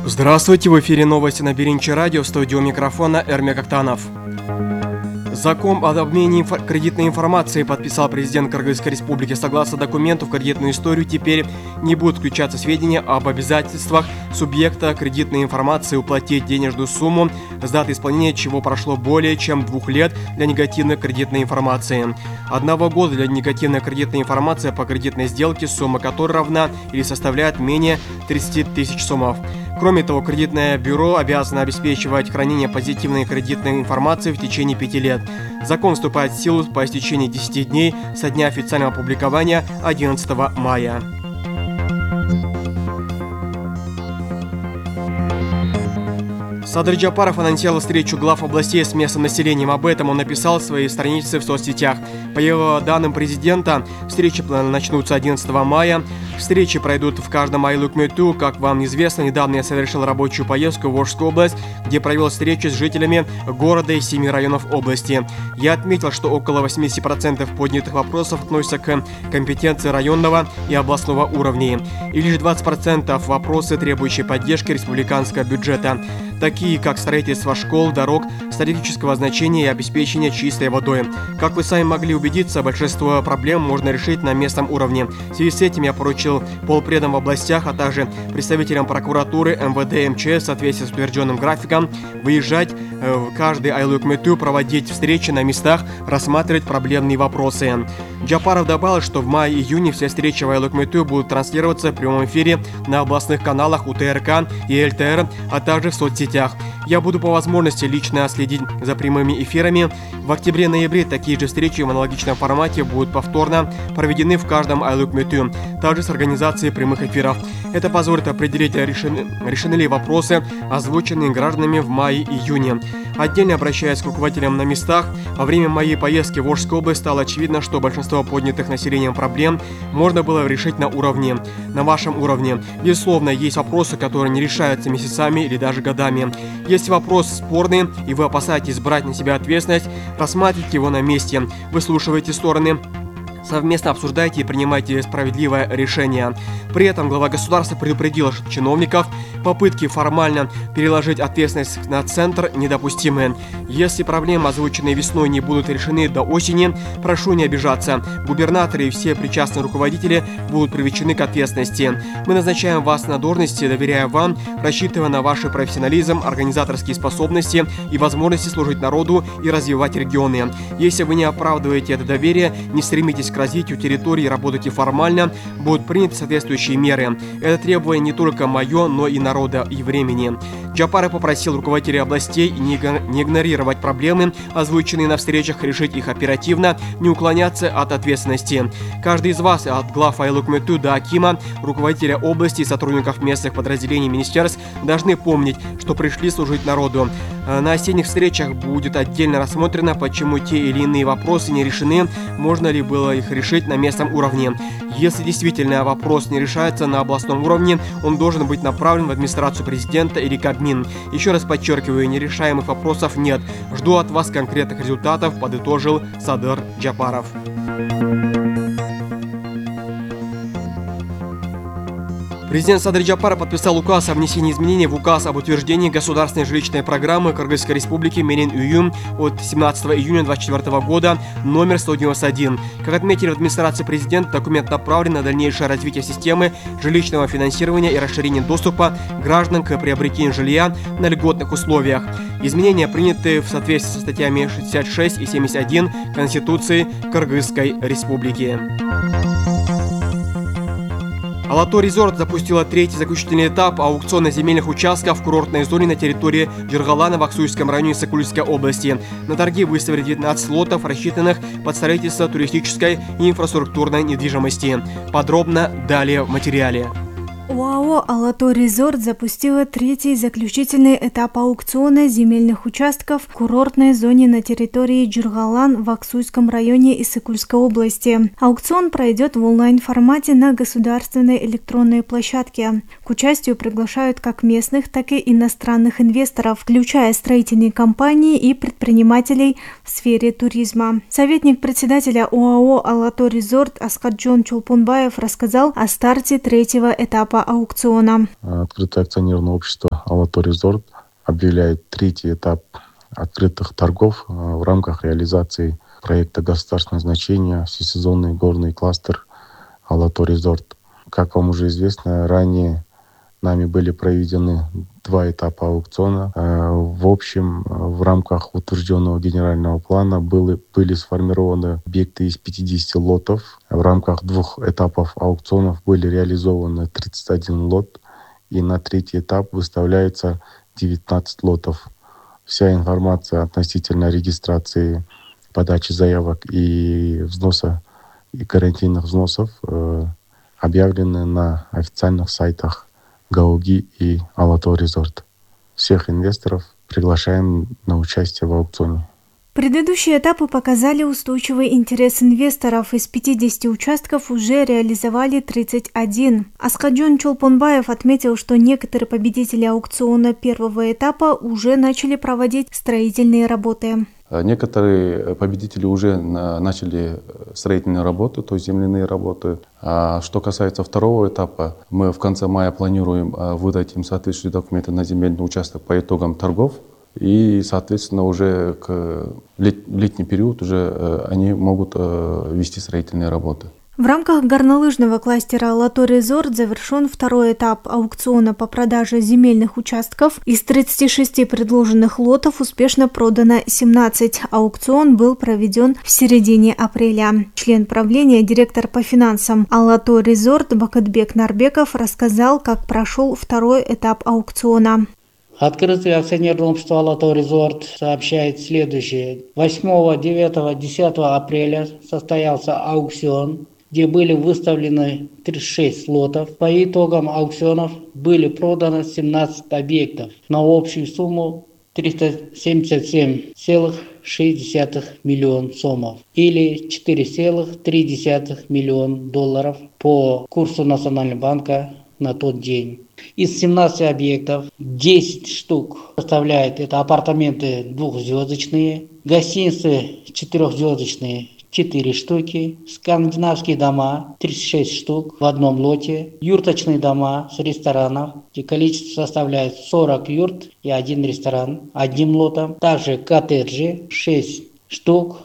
Здравствуйте, в эфире новости на Беринче радио, в студии у микрофона Эрмек Актанов. Закон об обмене кредитной информацией подписал президент Кыргызской республики. Согласно документу, в кредитную историю теперь не будут включаться сведения об обязательствах субъекта кредитной информации уплатить денежную сумму, с даты исполнения чего прошло более чем 2 лет для негативной кредитной информации. 1 года для негативной кредитной информации по кредитной сделке, сумма которой равна или составляет менее 30 тысяч сомов. Кроме того, кредитное бюро обязано обеспечивать хранение позитивной кредитной информации в течение 5 лет. Закон вступает в силу по истечении 10 дней со дня официального опубликования 11 мая. Садыр Джапаров анонсировал встречу глав областей с местным населением. Об этом он написал в своей странице в соцсетях. По его данным президента, встречи начнутся 11 мая. Встречи пройдут в каждом айлык-мөтү. Как вам известно, недавно я совершил рабочую поездку в Волжскую область, где провел встречи с жителями города и 7 районов области. Я отметил, что около 80% поднятых вопросов относятся к компетенции районного и областного уровней. И лишь 20% вопросы, требующие поддержки республиканского бюджета, такие как строительство школ, дорог стратегического значения и обеспечение чистой водой. Как вы сами могли убедиться, большинство проблем можно решить на местном уровне. В связи с этим я поручил полпредам в областях, а также представителям прокуратуры, МВД, МЧС в соответствии с утвержденным графиком выезжать в каждый айлык-мөтү, проводить встречи на местах, рассматривать проблемные вопросы. Джапаров добавил, что в мае-июне все встречи в айлык-мөтү будут транслироваться в прямом эфире на областных каналах УТРК и ЛТР, а также в соцсетях. Я буду по возможности лично следить за прямыми эфирами. В октябре-ноябре такие же встречи в аналогичном формате будут повторно проведены в каждом айлык-мөтү, также с организацией прямых эфиров. Это позволит определить, решены ли вопросы, озвученные гражданами в мае-июне. Отдельно обращаясь к руководителям на местах, во время моей поездки в Волжскую область стало очевидно, что большинство поднятых населением проблем можно было решить на вашем уровне. Безусловно, есть вопросы, которые не решаются месяцами или даже годами. Если вопрос спорный и вы опасаетесь брать на себя ответственность, рассматривайте его на месте, выслушивайте стороны, совместно обсуждайте и принимайте справедливое решение. При этом глава государства предупредил чиновников, попытки формально переложить ответственность на центр недопустимы. Если проблемы, озвученные весной, не будут решены до осени, прошу не обижаться. Губернаторы и все причастные руководители будут привлечены к ответственности. Мы назначаем вас на должности, доверяя вам, рассчитывая на ваш профессионализм, организаторские способности и возможности служить народу и развивать регионы. Если вы не оправдываете это доверие, не стремитесь к развитию территории, работайте формально, будут приняты соответствующие меры. Это требование не только мое, но и народа и времени. Джапаров попросил руководителей областей не игнорировать проблемы, озвученные на встречах, решить их оперативно, не уклоняться от ответственности. Каждый из вас, от глав айлык-мөтү до акима, руководителя области и сотрудников местных подразделений министерств, должны помнить, что пришли служить народу. На осенних встречах будет отдельно рассмотрено, почему те или иные вопросы не решены, можно ли было их решить на местном уровне. Если действительно вопрос не решается на областном уровне, он должен быть направлен в администрацию президента или Кабмин. Еще раз подчеркиваю, нерешаемых вопросов нет. Жду от вас конкретных результатов, подытожил Садыр Джапаров. Президент Садыр Джапаров подписал указ о внесении изменений в указ об утверждении государственной жилищной программы Кыргызской республики Менен-Уюм от 17 июня 2024 года номер 191. Как отметили в администрации президента, документ направлен на дальнейшее развитие системы жилищного финансирования и расширение доступа граждан к приобретению жилья на льготных условиях. Изменения приняты в соответствии со статьями 66 и 71 Конституции Кыргызской республики. Алатор Резорт запустила 3-й заключительный этап аукциона земельных участков в курортной зоне на территории Джургалана в Аксуйском районе Сокульской области. На торги выставили 19 лотов, рассчитанных под строительство туристической и инфраструктурной недвижимости. Подробно далее в материале. ОАО «Алатор Резорт» запустила 3-й заключительный этап аукциона земельных участков в курортной зоне на территории Джургалан в Аксуйском районе Исыкульской области. Аукцион пройдет в онлайн-формате на государственной электронной площадке. К участию приглашают как местных, так и иностранных инвесторов, включая строительные компании и предпринимателей в сфере туризма. Советник председателя ОАО «Алатор Резорт» Аскарджон Чолпонбаев рассказал о старте 3-го этапа аукциона. Открытое акционерное общество Алатоо Резорт объявляет третий этап открытых торгов в рамках реализации проекта государственного значения «Всесезонный горный кластер Алатоо Резорт». Как вам уже известно, ранее нами были проведены 2 этапа аукциона. В общем, в рамках утвержденного генерального плана были сформированы объекты из 50 лотов. В рамках 2 этапов аукционов были реализованы 31 лот, и на 3-й этап выставляется 19 лотов. Вся информация относительно регистрации, подачи заявок и взноса и гарантийных взносов объявлены на официальных сайтах Гауги и Алатоо Резорт. Всех инвесторов приглашаем на участие в аукционе. Предыдущие этапы показали устойчивый интерес инвесторов. Из 50 участков уже реализовали 31. Аскаджон Чолпонбаев отметил, что некоторые победители аукциона первого этапа уже начали проводить строительные работы. Некоторые победители уже начали строительные работы, то есть земляные работы. А что касается второго этапа, мы в конце мая планируем выдать им соответствующие документы на земельный участок по итогам торгов. И, соответственно, уже в летний период уже они могут вести строительные работы. В рамках горнолыжного кластера Алатоо Резорт завершен 2-й этап аукциона по продаже земельных участков. Из 36 предложенных лотов успешно продано 17. Аукцион был проведен в середине апреля. Член правления, директор по финансам Алатоо Резорт Бакытбек Нарбеков рассказал, как прошел 2-й этап аукциона. Открытое акционерное общество Алатоо Резорт сообщает следующее. 8, 9, 10 апреля состоялся аукцион, где были выставлены 36 лотов. По итогам аукционов были проданы 17 объектов на общую сумму 377,6 миллиона сомов или $4,3 миллиона по курсу Национального банка на тот день. Из 17 объектов 10 штук составляет это апартаменты 2-звездочные, гостиницы 4-звездочные 4 штуки, скандинавские дома 36 штук в одном лоте, юрточные дома с ресторанов, где количество составляет 40 юрт и 1 ресторан одним лотом, также коттеджи 6 штук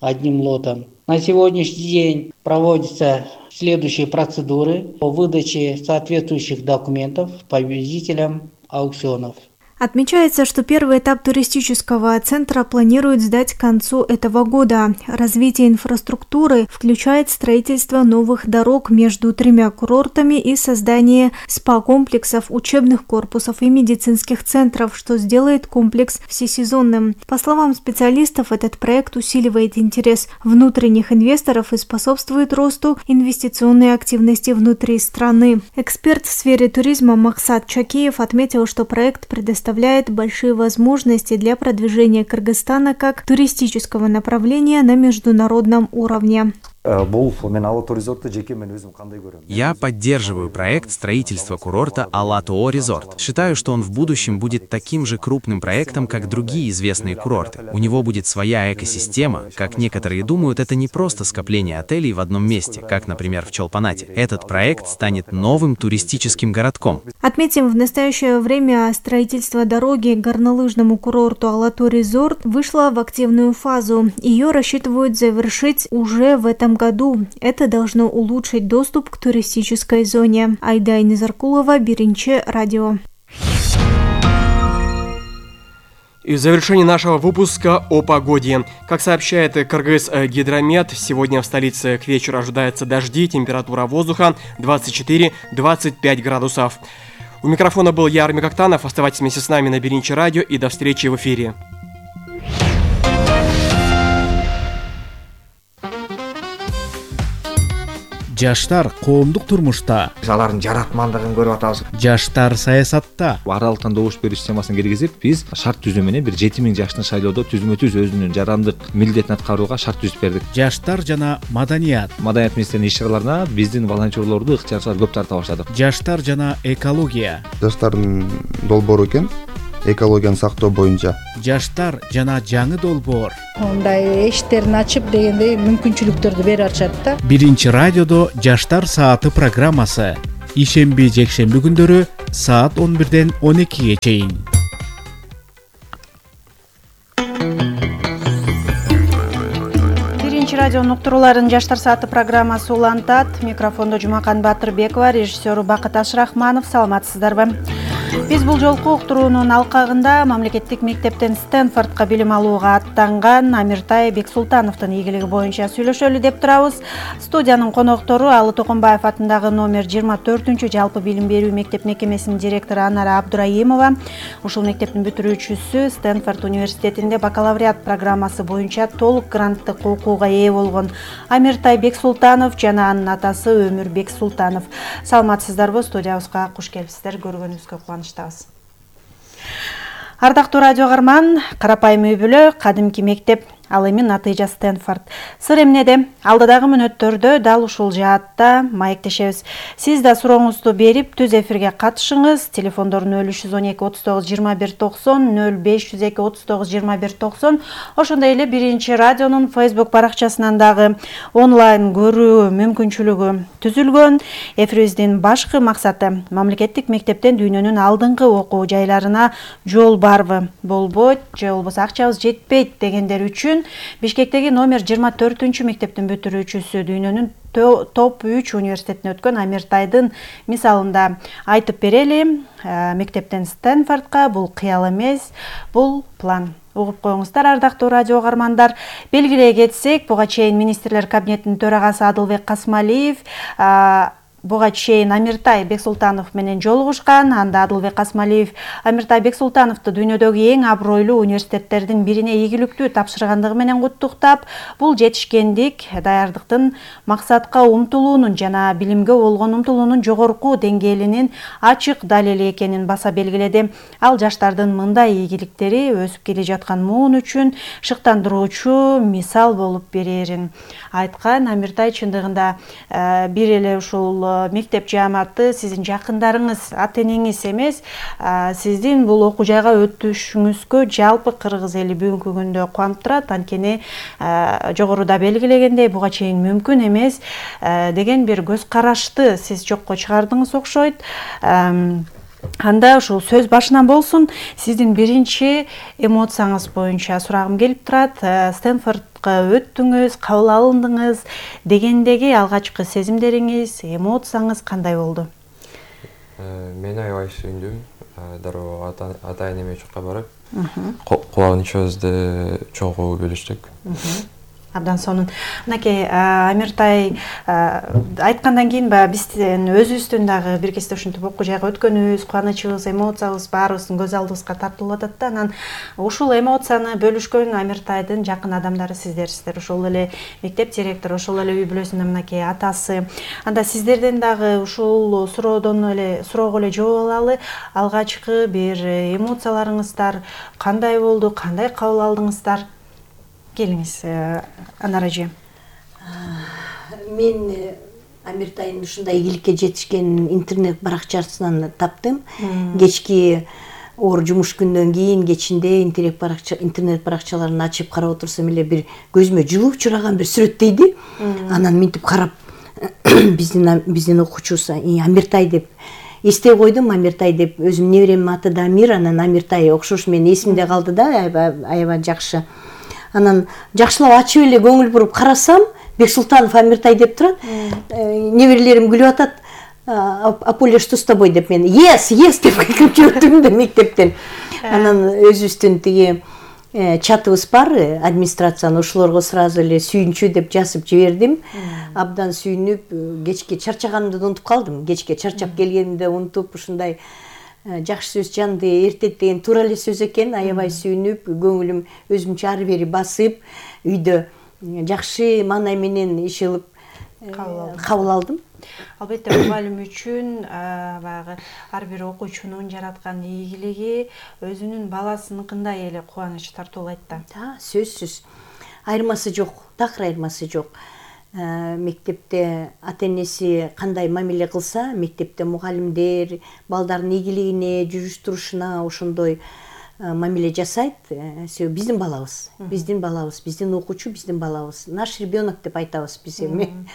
одним лотом. На сегодняшний день проводятся следующие процедуры по выдаче соответствующих документов победителям аукционов. Отмечается, что первый этап туристического центра планируют сдать к концу этого года. Развитие инфраструктуры включает строительство новых дорог между 3 курортами и создание спа-комплексов, учебных корпусов и медицинских центров, что сделает комплекс всесезонным. По словам специалистов, этот проект усиливает интерес внутренних инвесторов и способствует росту инвестиционной активности внутри страны. Эксперт в сфере туризма Максат Чакеев отметил, что проект предоставляет большие возможности для продвижения Кыргызстана как туристического направления на международном уровне. Я поддерживаю проект строительства курорта Алатоо Резорт. Считаю, что он в будущем будет таким же крупным проектом, как другие известные курорты. У него будет своя экосистема. Как некоторые думают, это не просто скопление отелей в одном месте, как, например, в Чолпонате. Этот проект станет новым туристическим городком. Отметим, в настоящее время строительство дороги к горнолыжному курорту Алатоо Резорт вышло в активную фазу. Ее рассчитывают завершить уже в этом году. Это должно улучшить доступ к туристической зоне. Айдай Низаркулова, Биринче, радио. И в завершении нашего выпуска о погоде. Как сообщает Кыргызгидромет, сегодня в столице к вечеру ожидаются дожди, температура воздуха 24-25 градусов. У микрофона был я, Армик Актанов. Оставайтесь вместе с нами на Биринче радио и до встречи в эфире. Жаштар коомдук турмушта, алардын жаратмандыгын көрүп атабыз. жаштар саясатта, Аралыктан добуш бериш системасын киргизип, биз шарт түзүү менен бир 7000 жаштын шайлоодо түзмө-түз өзүнүн жарандык милдетин аткарууга шарт түзүп бердик. жаштар жана маданият, Маданият министринин иш-чараларына биздин волонтерлорду ыктыярчылар көп тарта баштадык. жаштар жана экология, жаштардын долбоору экен, экологияны сактоо боюнча. жаштар жана жаңы долбоор. Мындай эшиктерин ачып дегендей мүмкүнчүлүктөрдү берип атышат да. Биринчи радиодо жаштар сааты программасы ишемби жекшемби күндөрү саат 11-ден 12-ге чейин. Радионун уктурууларын Жаштар сааты программасы улантат. Микрофондо Жумакан Батырбекова, режиссеру Бакыт Ашрахманов. Саламатсыздарбы? Биз бул жолку уктуруунун алкагында мамлекеттик мектептен Стэнфордко билим алууга аттанган Амиртай Бексултановдун ийгилиги боюнча сүйлөшөлү деп турабыз. Студиянын коноктору Алы Токонбаев атындагы номер 24 жалпы билим берүү мектеп мекемесинин директору Анара Абдураимова, ушул мектептин бүтүрүүчүсү, Стэнфорд университетинде бакалавриат программасы боюнча толук гранттык окууга ээ болгон Амиртай Бексултанов жана анын атасы Өмүр Бексултанов. Саламатсыздарбы? Студиябызга куш келипсиздер. Көргөнүбүзгө кубанычтабыз. Ардактуу радио каарман, карапайым үй бүлө, кадимки мектеп, ал эми натыйжа Стэнфорд. Сыр эмнеде? Алдыдагы мүнөттөрдө дал ушул жаатта маектешебиз. Сиз да сурооңузду берип, түз эфирге катышыңыз. Телефондор 0312 39 21 90, 0502 39 21 90. Ошондой эле Биринчи радионун Facebook баракчасынан дагы онлайн көрүү мүмкүнчүлүгү түзүлгөн. Эфирибиздин башкы максаты мамлекеттик мектептен дүйнөнүн алдыңкы окуу жайларына жол барбы, болбойт, же болбосо акчабыз жетпейт дегендер үчүн Бишкектеги номер 24 мектептин бүтүрүүчүсү, дүйнөнүн топ 3 университетине өткөн Амиртайдын мисалында айтып берели. Мектептен Стэнфордко бул кыял эмес, бул план. Угуп коюңуздар, ардактуу радио каармандар. Белгилей кетсек, буга чейин министрлер кабинетинин төрагасы Адылбек Касмалиев буга чейин Амиртай Бексултанов менен жолугушкан. Анда Адылбек Касмалиев Амиртай Бексултановду дүйнөдөгү эң абройлуу университеттердин бирине ийгиликтүү тапшыргандыгы менен куттуктап, бул жетишкендик, даярдыктын максатка умтулуунун жана билимге болгон умтулуунун жогорку деңгээлинин ачык далили экенин баса белгиледи. Ал жаштардын мындай ийгиликтери өсүп келе жаткан муун үчүн шыктандыруучу мисал болуп берерин айткан. Амиртай чындыгында бир эле ушул мектеп жааматы сиздин жакындарыңыз, ата-энеңиз эмес, сиздин бул окуу жайга өтүшүңүзгө жалпы кыргыз эли бүгүнкү күндө кубанып турат. Анткени жогоруда белгилегендей, буга чейин мүмкүн эмес деген бир көз карашты сиз жокко чыгардыңыз окшойт. Анда ушул сөз башынан болсун, сиздин биринчи эмоцияңыз боюнча сурагым келип турат. Стэнфордко өттүңүз, кабыл алындыңыз дегендеги алгачкы сезимдериңиз, эмоцияңыз кандай болду? Мен аябай сүйүндүм. Дароо ата-энеме жакка барып, кубанычыбызды чогуу бөлүштүк. Абдан сонун. Мынакей Амиртай айткандан кийин биздин өзүбүздүн дагы бир кезде ушинтип окуу жайга өткөнүбүз, кубанычыбыз, эмоциябыз баарыбыздын көз алдыбызга тартылып атат да. Анан ушул эмоцияны бөлүшкөн Амиртайдын жакын адамдары сиздерсиздер. Ошол эле мектеп директору, ошол эле үй бүлөсүнүн мынакей атасы. Анда сиздерден дагы ушул суроого эле жооп алалы. Алгачкы бир эмоцияларыңыздар кандай болду, кандай кабыл алдыңыздар? Келиңиз, Анара эже. Мен Амиртайдын ушундай ийгиликке жетишкенин интернет баракчасынан таптым. Кечки оор жумуш күндөн кийин кечинде интернет баракчаларын ачып карап отурсам эле бир көзүмө жылуу учураган бир сүрөттейди. Анан минтип карап биздин окуучубуз Амиртай деп эстей койдум. Амиртай деп өзүм неберемдин аты да Амир, анан Амиртай окшош менин эсимде калды да, аябай жакшы. Анан жакшылап ачып эле көңүл буруп карасам, Бексултанов Амиртай деп турат. Неберелерим күлүп атат. Аполя, что с тобой деп мен yes деп кыйкырып жибердим да мектептен. Анан өзүбүздүн тиги чатыбыз бар, администрациянын, ошолорго сразу эле сүйүнчү деп жазып жибердим. Абдан сүйүнүп, кечке чарчаганымды унутуп калдым. Кечке чарчап келгенимди унутуп, ушундай жакшы сөз жанды эртет деген туура эле сөз экен. Аябай сүйүнүп, көңүлүм өзүмчө ары бери басып, үйдө жакшы маанай менен иш кылып кабыл алдым. Албетте мугалим үчүн баягы ар бир окуучунун жараткан ийгилиги өзүнүн баласыныкындай эле кубаныч тартуулайт да. Сөзсүз. Айырмасы жок, такыр айырмасы жок. Мектепте ата-энеси кандай мамиле кылса, мектепте мугалимдер балдардын ийгилигине, жүрүш-турушуна ошондой мамиле жасайт. Биздин балабыз, биздин окуучу, биздин балабыз. Наш ребенок деп айтабыз биз эми.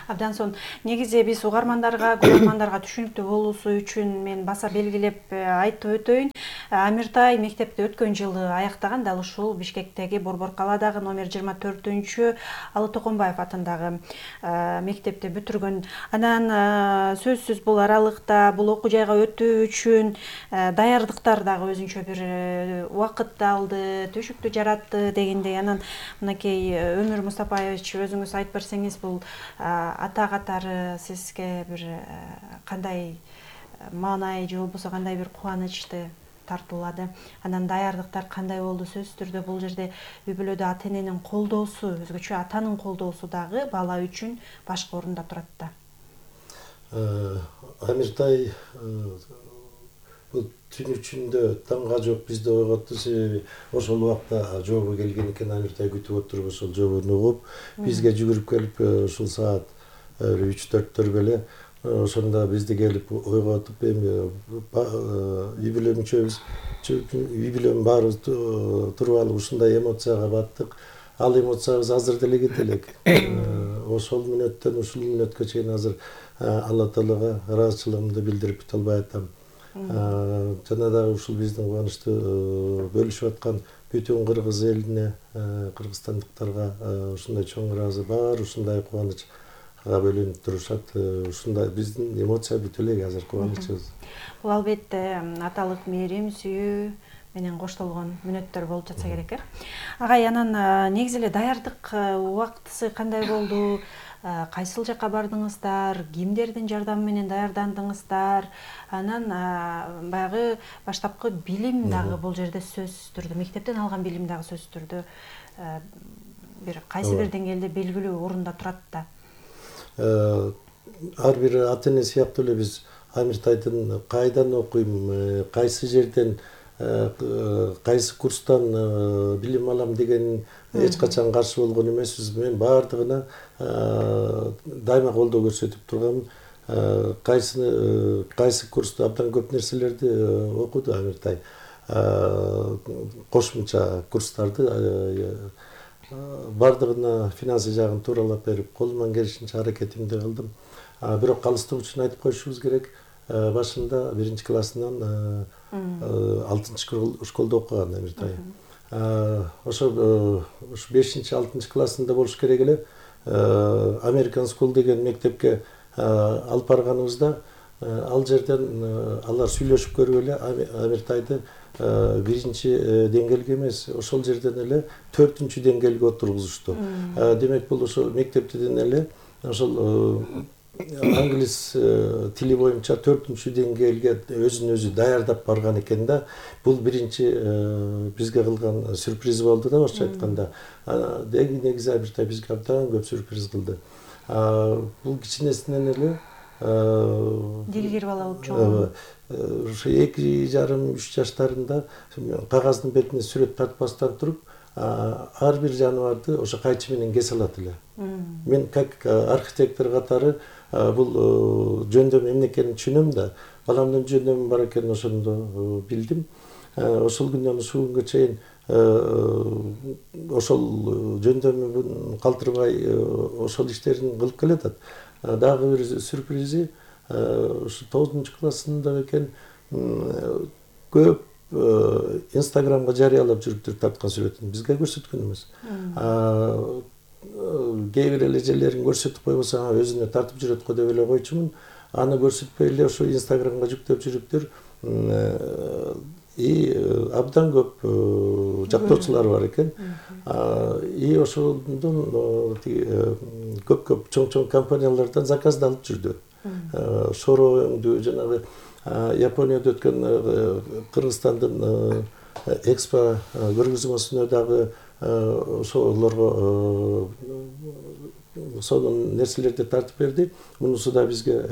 Абдан сонун. Негизи биз угармандарга, көрөрмандарга түшүнүктүү болуусу үчүн мен баса белгилеп айтып өтөйүн. Амиртай мектепти өткөн жылы аяктаган, дал ушул Бишкектеги Борбор калаадагы номер 24-чү Алы Токонбаев атындагы мектепти бүтүргөн. Анан сөзсүз бул аралыкта бул окуу жайга өтүү үчүн даярдыктар дагы өзүнчө бир убакытты алды, түшүктү жаратты дегендей. Анан мынакей Өмүр Мустапаевич, өзүңүз айтып берсеңиз, бул ата катары сизге бир кандай маанай же болбосо кандай бир кубанычты тартуулады? Анан даярдыктар кандай болду? Сөзсүз түрдө бул жерде үй бүлөдө ата эненин колдоосу, өзгөчө атанын колдоосу дагы бала үчүн башкы орунда турат да. Амиртай бул түн ичинде таңга жок бизде ойготту, себеби ошол убакта жообу келген экен. Амиртай күтүп отуруп ошол жообуну угуп бизге жүгүрүп келип, ушул саат 3-4 беле ошондо бизди келип ойготуп, эми үй бүлө мүчөбүз, үй бүлөнүн баарыбыз туруп алып ушундай эмоцияга баттык. Ал эмоциябыз азыр деле кете элек. Ошол мүнөттөн ушул мүнөткө чейин азыр Алла Таалага ыраазычылыгымды билдирип бите албай атам. Жана дагы ушул биздин кубанычты бөлүшүп аткан бүтүн кыргыз элине, кыргызстандыктарга ушундай чоң ыраазы бар, ушундай кубанычка бөлүнүп турушат. Ушундай биздин эмоция бүт элек азыр кубанычыбыз. Бул албетте аталык мээрим, сүйүү менен коштолгон мүнөттөр болуп жатса керек, Агай, анан негизи эле даярдык убактысы кандай болду? Кайсыл жакка бардыңыздар? Кимдердин жардамы менен даярдандыңыздар? Анан баягы баштапкы билим дагы бул жерде сөзсүз түрдө, мектептен алган билим дагы сөзсүз түрдө бир кайсы бир деңгээлде белгилүү орунда турат да. Ар бир ата эне сыяктуу эле биз Амиртайдын кайдан окуйм, кайсы жерден, кайсы курстан билим алам деген эч качан каршы болгон эмеспиз. Мен баардыгына дайыма колдоо көрсөтүп тургам. Кайсы курста абдан көп нерселерди окуду Амиртай. Кошумча курстарды баардыгына финансы жагын тууралап берип, колуман келишинче аракетимди кылдым. Бирок калыстык үчүн айтып коюшубуз керек, башында 1 классынан 6 школда окуган Амиртай. Ошо 5-6 классында болуш керек эле. American School деген мектепке алып барганыбызда, ал жерден алар сүйлөшүп көрүп эле Амиртайды 1-чи деңгээлге эмес, ошол жерден эле 4-чү деңгээлге отургузушту. Демек бул ошо мектептен эле ошол англис тили боюнча 4-чү деңгээлге өзүн өзү даярдап барган экен да. Бул 1-чи бизге кылган сюрприз болду да, орусча айтканда. Негизи Амиртай бизге абдан көп сюрприз кылды. Бул кичинесинен эле дилгир бала болуп чогуу. Ошо 2,5-3 жаштарында кагаздын бетине сүрөт тартпастан туруп, ар бир жаныбарды ошо кайчы менен кесе алат эле. Мен как архитектор катары бул жөндөм эмне экенин түшүнөм да, баламдын жөндөмү бар экенин ошондо билдим. Ошол күндөн ушул күнгө чейин ошол жөндөмүн калтырбай ошол иштерин кылып келатат. Дагы бир сюрпризи, ушу 9 классында экен көп Инстаграмга жарыялап жүрүптүр тарткан сүрөтүн. Бизге көрсөткөн эмес. Кээ бир элежелерин көрсөтүп койбосо, өзүнө тартып жүрөт го деп эле койчумун. Аны көрсөтпөй эле ошо Инстаграмга жүктөп жүрүптүр. Абдан көп жактоочулар бар экен. Ошондон көп чоң компаниялардан заказ да алып жүрдү. Шороңду, жанагы Японияда өткөн Кыргызстандын экспо көргөзмөсүнө дагы ошолорго сонун нерселерди тартып берди. Мунусу да бизге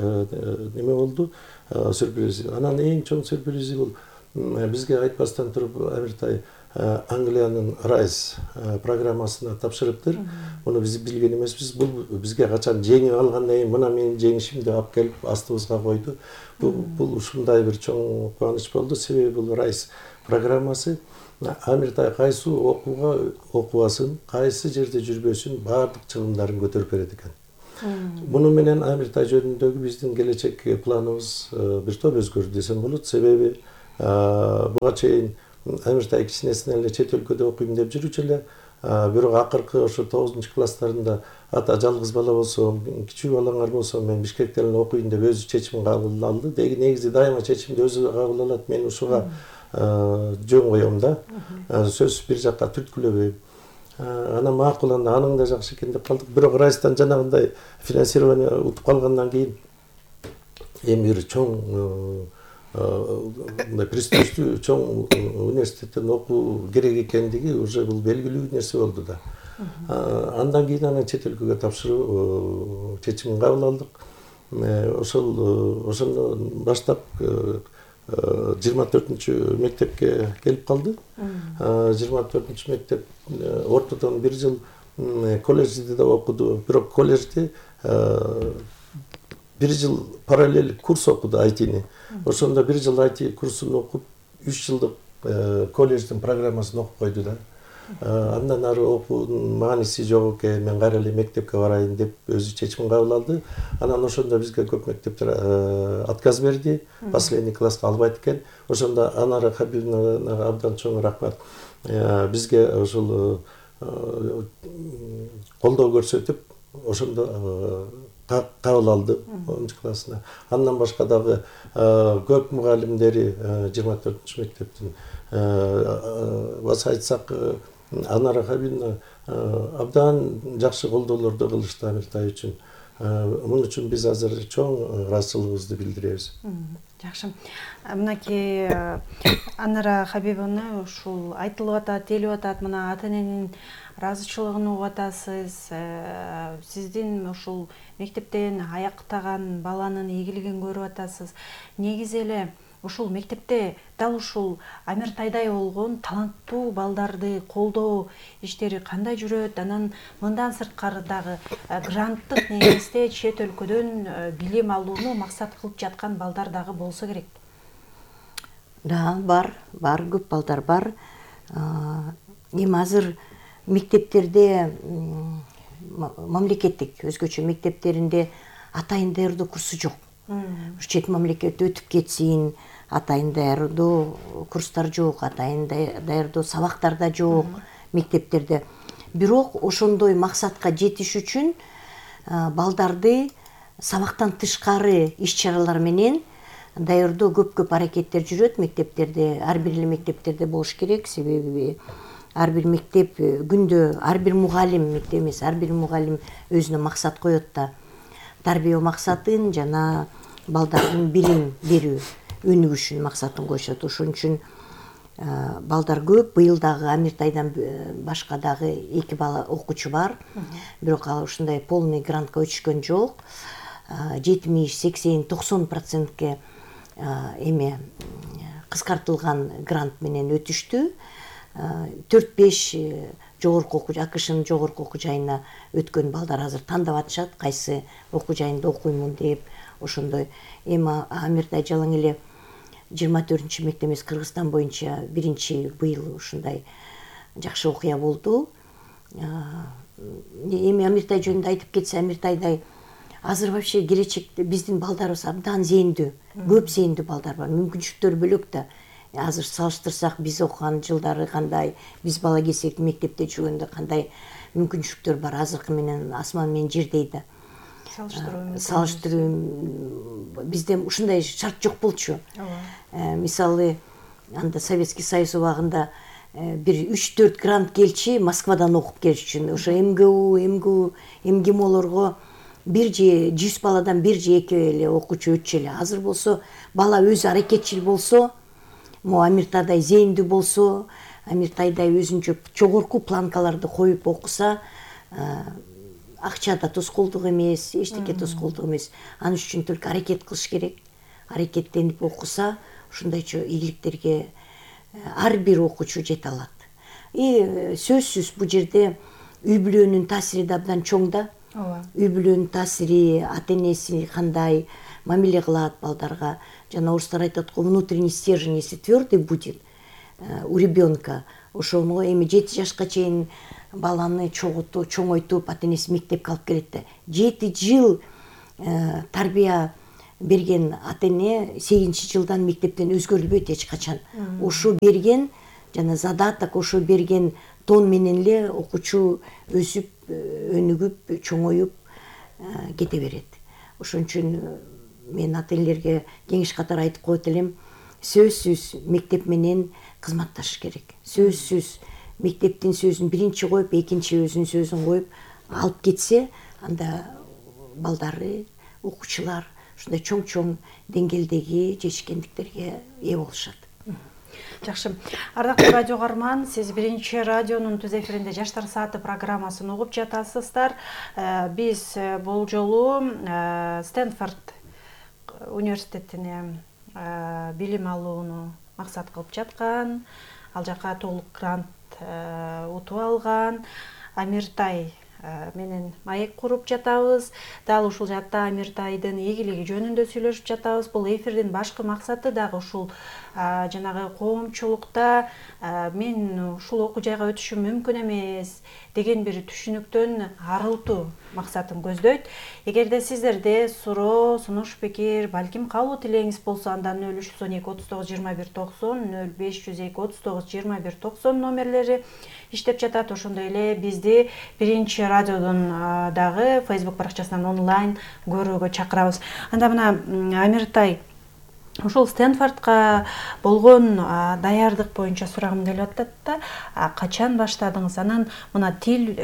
неме болду, сюрприз. Анан эң чоң сюрпризи бул бизге айтпастан туруп Амиртай Англиянын RISE программасына тапшырыптыр. Муну биз билген эмеспиз. Бул бизге качан жеңип алгандан кийин мына менин жеңишимди алып келип астыбызга койду. Бул ушундай бир чоң кубаныч болду. Себеби бул RISE программасы Амир Тай кайсы окууга окубасын, кайсы жерде жүрбөсүн баардык чыгымдарын көтөрүп берет экен. Муну менен Амир Тай жөнүндөгү биздин келечек планыбыз бир топ өзгөрдү десем болот. Себеби буга чейин Амир Тай кичинесинен эле чет өлкөдө окуйм деп жүрчү эле, бирок акыркы ошо 9-класстарында ата жалгыз бала болсо, кичүү балаңар болсо мен Бишкектен эле окуйм деп өзү чечим кабыл алды. Негизи дайыма чечимди өзү кабыл алат. Мен ушуга жөн коем да. Сөз бир жакка түрткүлөбөйм. Анан макул, аның да жакшы экен деп калдык. Бирок Райстан жанагындай финансирование утуп калгандан кийин эми бир чоң мындай престиждүү чоң университеттен окуу керек экендиги уже бул белгилүү нерсе болду да. Андан кийин аны чет өлкөгө тапшыруу чечимин кабыл алдык. Ошондон баштап 24 мектепке келип калды. 24 мектеп ортодон бир жыл колледжде да окуду. Бирок колледжде бир жыл параллель курс окуду IT-ни. Ошондо бир жыл IT курсун окуп, 3 жылдык колледждин программасын окуп койду да. Андан ары окуунун мааниси жок экен, мен кайра эле мектепке барайын деп өзү чечимин кабыл алды. Анан ошондо бизге көп мектептер отказ берди, последний класска албайт экен. Ошондо Анара Хабибовнага абдан чоң рахмат. Бизге ошол колдоо көрсөтүп, ошондо кабыл алды 10-классына. Андан башка дагы көп мугалимдери 24-мектептин баса айтсак Анара Хабибовна абдан жакшы колдоолорду кылышты Амир Тай үчүн. Мун үчүн биз азыр чоң ыраазычылыгыбызды билдиребиз. Жакшы. Мынакей Анара Хабибовна ушул айтылып атат, делип атат, мына ата-эненин ыраазычылыгын угуп атасыз. Сиздин ушул мектептен аяктаган баланын ийгилигин көрүп атасыз. Негизи эле ушул мектепте дал ушул Амир Тайдай болгон таланттуу балдарды колдоо иштери кандай жүрөт? Анан мындан сырткары дагы гранттык негизде чет өлкөдөн билим алууну максат кылып жаткан балдар дагы болсо керек. Да, бар, көп балдар бар. Эми азыр мектептерде мамлекеттик өзгөчө мектептеринде атайын даярдоо курсу жок. Чет мамлекетте өтүп кетсин, атайын даярдоо курстар жок, атайын даярдоо сабактар да жок мектептерде. Бирок ошондой максатка жетиш үчүн балдарды сабактан тышкары иш-чаралар менен даярдоо көп аракеттер жүрөт мектептерде. Ар бир эле мектептерде болуш керек, себеби ар бир мектеп күндө ар бир мугалим, мектеп эмес, ар бир мугалим өзүнө максат коет да. Тарбия максатын жана балдардын билим берүү өнүгүшүн максатын коюшат. Ошон үчүн балдар көп. Быйыл дагы Амир Тайдан башка дагы 2 бала окуучу бар. Бирок ал ушундай полный грантка өтүшкөн жок. 70-80-90%ке эме кыскартылган грант менен өтүштү. 4-5 жогорку окуу АКШнын жогорку окуу жайына өткөн балдар азыр тандап атышат, кайсы окуу жайында окуймун деп. Ошондой эми Амир Тай жалаң эле 24 мектеп эмес, Кыргызстан боюнча биринчи быйыл ушундай жакшы окуя болду. Эми Амир Тай жөнүндө айтып кетсе, Амир Тайдай азыр вообще келечекте биздин балдарыбыз абдан зээндүү, көп зээндүү балдар бар. Мүмкүнчүлүктөр бөлөк да. Азыр салыштырсак биз окуган жылдары кандай, биз бала кезек мектепте жүргөндө кандай мүмкүнчүлүктөр бар, азыркы менен асман менен жердей да. Салыштыруу бизде ушундай шарт жок болчу. Мисалы, анда Советский Союз убагында бир 3-4 грант келчи Москвадан окуп келиш үчүн. Ошо МГУ, МГИМОлорго бир же 100 баладан бир же 2 эле окуучу өтчү эле. Азыр болсо бала өзү аракетчил болсо, Амир Тайдай зээндүү болсо, Амир Тайдай өзүнчө жогорку планкаларды коюп окуса, акча да тоскоолдук эмес, эчтеке тоскоолдук эмес. Анын үчүн только аракет кылыш керек. Аракеттенип окуса, ушундайча ийгиликтерге ар бир окуучу жете алат. Сөзсүз бул жерде үй бүлөнүн таасири да абдан чоң да. Үй бүлөнүн таасири, ата энеси кандай мамиле кылат балдарга. Жана орустар айтат го, внутренний стержень, если твердый будет у ребенка, ошону эми 7 жашка чейин баланы чоңойтуп, ата энеси мектепке алып келет да. 7 жыл тарбия берген ата эне 8-жылдан мектептен өзгөрүлбөйт эч качан. Ошо берген жана задаток, ошо берген тон менен эле окуучу өсүп, өнүгүп, чоңоюп кете берет. Ошон үчүн мен ата энелерге кеңеш катары айтып коет элем, сөзсүз мектеп менен кызматташыш керек. Сөзсүз мектептин сөзүн биринчи коюп, экинчи өзүнүн сөзүн коюп алып кетсе, анда балдары, окуучулар ушундай чоң деңгээлдеги жетишкендиктерге ээ болушат. Жакшы. Ардактуу радио каарман, сиз биринчи радионун түз эфиринде Жаштар сааты программасын угуп жатасыздар. Биз бул жолу Стэнфорд университетине билим алууну максат кылып жаткан, ал жака толук грант утуп алган Амиртай менен маек куруп жатабыз. Дал ушул жакта Амиртайдын ийгилиги жөнүндө сүйлөшүп жатабыз. Бул эфирдин башкы максаты дагы ушул жанагы коомчулукта мен ушул окуу жайга өтүшүм мүмкүн эмес деген бир түшүнүктөн арылтуу максатын көздөйт. Эгерде сиздерде суроо, сунуш пикир, балким калуу тилегиңиз болсо, анда 0312 39 21 90, 0502 39 21 90 номерлери иштеп жатат. Ошондой эле бизди биринчи радиодон дагы Facebook баракчасынан онлайн көрүүгө чакырабыз. Анда мына Амиртай, ушул Стэнфордко болгон даярдык боюнча сурагым келип атат да. Качан баштадыңыз? Анан мына тил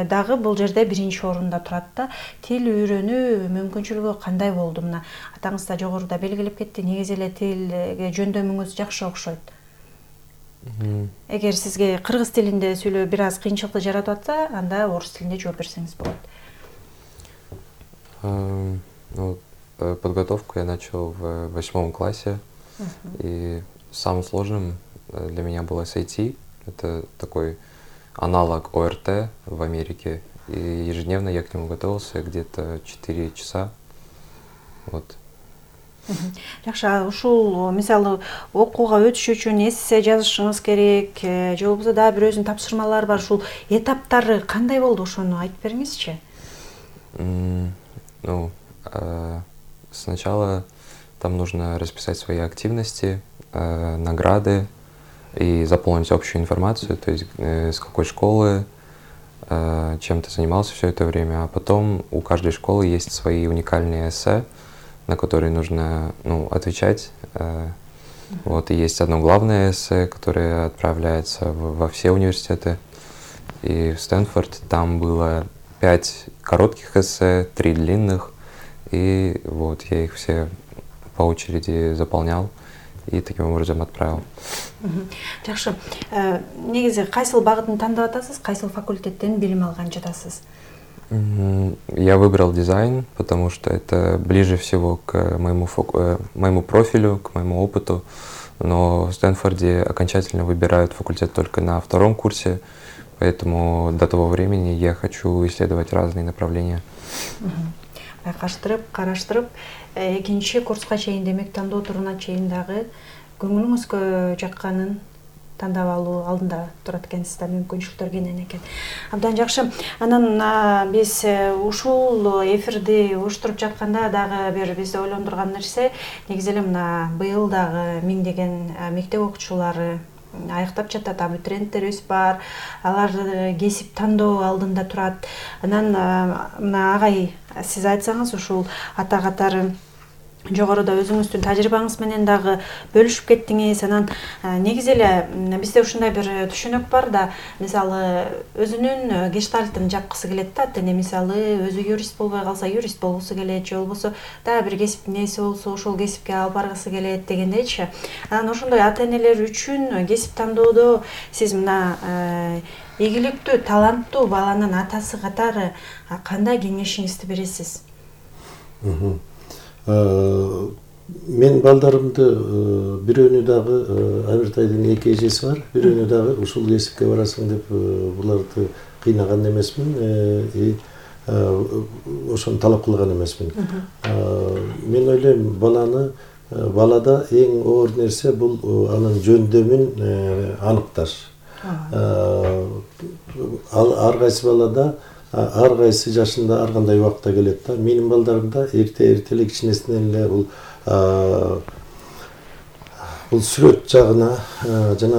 дагы бул жерде биринчи орунда турат да. Тил үйрөнүү мүмкүнчүлүгү кандай болду? Мына атаңыз да жогоруда белгилеп кетти. Негизи эле тилге жөндөмүңүз жакшы окшойт. Эгер сизге кыргыз тилинде сүйлөө бир аз кыйынчылыкты жаратып атса, анда орус тилинде жооп берсеңиз болот. Подготовку я начал в 8 классе, и самым сложным для меня было SAT. Это такой аналог ОРТ в Америке, и ежедневно я к нему готовился где-то 4 часа. Вот. Жакшы, ушул мисалы окууга өтүш үчүн эссе жазышыңыз керек, же болбосо дагы бир өзүнүн тапшырмалары бар. Ушул этаптары кандай болду? Ошону айтып бериңизчи. Сначала там нужно расписать свои активности, награды и заполнить общую информацию, то есть с какой школы, чем ты занимался все это время. А потом у каждой школы есть свои уникальные эссе, на которые нужно отвечать. Вот, и есть одно главное эссе, которое отправляется во все университеты. И в Стэнфорд там было 5 коротких эссе, 3 длинных. И вот я их все по очереди заполнял и таким образом отправил. Жакшы. Негизи кайсыл багытын тандап атасыз? Кайсыл факультеттен билим алган жатасыз? Я выбрал дизайн, потому что это ближе всего к моему профилю, к моему опыту. Но в Стэнфорде окончательно выбирают факультет только на 2-м курсе, поэтому до того времени я хочу исследовать разные направления. Караштырып, экинчи курска чейин, демек тандоо туруна чейин дагы көңүлүңүзгө жакканын тандап алуу алдында турат экенсиз да, мүмкүнчүлүктөр кенен экен. Абдан жакшы. Анан биз ушул эфирди уюштуруп жатканда дагы бир бизди ойлондурган нерсе, негизи эле мына быйыл дагы миңдеген мектеп окуучулары аяктап жатат, абитуриенттерибиз бар. Алар кесип тандоо алдында турат. Анан мына агай, сиз айтсаңыз, ушул ата катары жогоруда өзүңүздүн тажрыйбаңыз менен дагы бөлүшүп кеттиңиз. Анан негизи эле бизде ушундай бир түшүнүк бар да, мисалы өзүнүн гештальтын жапкысы келет да, ата эне мисалы өзү юрист болбой калса юрист болгусу келет, же болбосо дагы бир кесиптин ээси болсо ошол кесипке алып баргысы келет дегендейчи. Анан ошондой ата энелер үчүн кесип тандоодо сиз мына ийгиликтүү, таланттуу баланын атасы катары кандай кеңешиңизди бересиз? Мен балдарымды бирөөнү дагы Амиртайдын 2 эжеси бар, бирөөнү дагы ушул кесипке барасың деп буларды кыйнаган эмесмин и ошону талап кылган эмесмин. Мен ойлойм балада эң оор нерсе бул анын жөндөмүн аныкташ. Ар кайсы балада ар кайсы жашында ар кандай убакта келет да. Менин балдарым да эрте эле кичинесинен эле бул сүрөт жагына жана